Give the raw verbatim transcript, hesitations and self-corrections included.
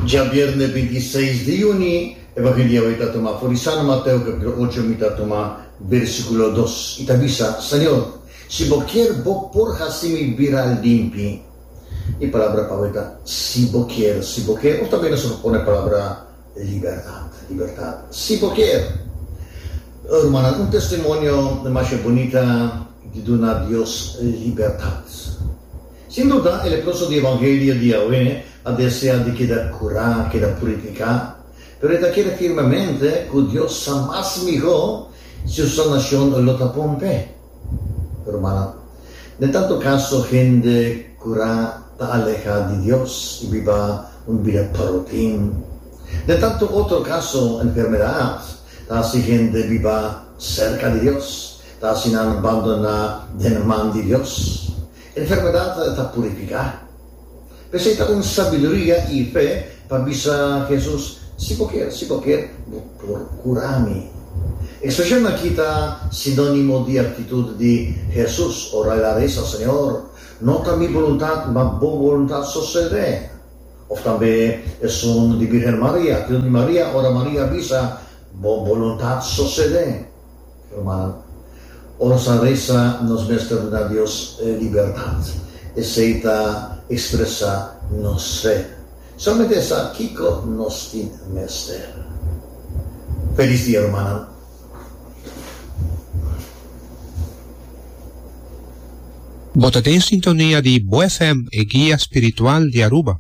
Djabièrnè binti seis di yüni, Evangelio awe ta tuma for di San Mateo kapítulo ocho mi ta tuma versíkulo dos i ta bisa, Señor, si bo kier bo por hasi mi bira limpi. E palabra pa awe ta si bo kier, si bo kier, òf tambe nos por pone palabra libertat, libertat, si bo kier. Rumannan, un testimonio masha bunita di duna Dios libertat. Sin duda, e leproso di Evangelio di awe a desea di keda kurá, keda purifiká. Pero e ta kere firmemente ku Dios sa mas mihó si su sanashon lo ta bon p'e. Rumannan, den tantu kaso hende kurá ta alehá di Dios i biba un bida parotin. Den tantu otro kaso enfermedat ta hasi hende biba serka di Dios, ta hasi nan bandoná den man di Dios. Enfermedat ta purifiká. P'esei ta un sabiduria i fe pa bisa Hesus, Si bo kier, si bo kier, bo por kura mi. Ekspreshon aki ta sinónimo di aktitut di Hesus ora el a resa, Señor, no ta mi boluntat, ma bo boluntat sosodé. Òf tambe esun di Birgen Maria, aktitut di Maria ora Maria a bisa, Bo boluntat sosodé. Rumannan, ora nos a resa nos mester duna Dios libertat. Esei ta ekspresá nos fe. Solamente e sa kiko nos tin mester. Felis dia, rumannan. Bo ta den sintonia di Bo F M, e guia spiritual di Aruba.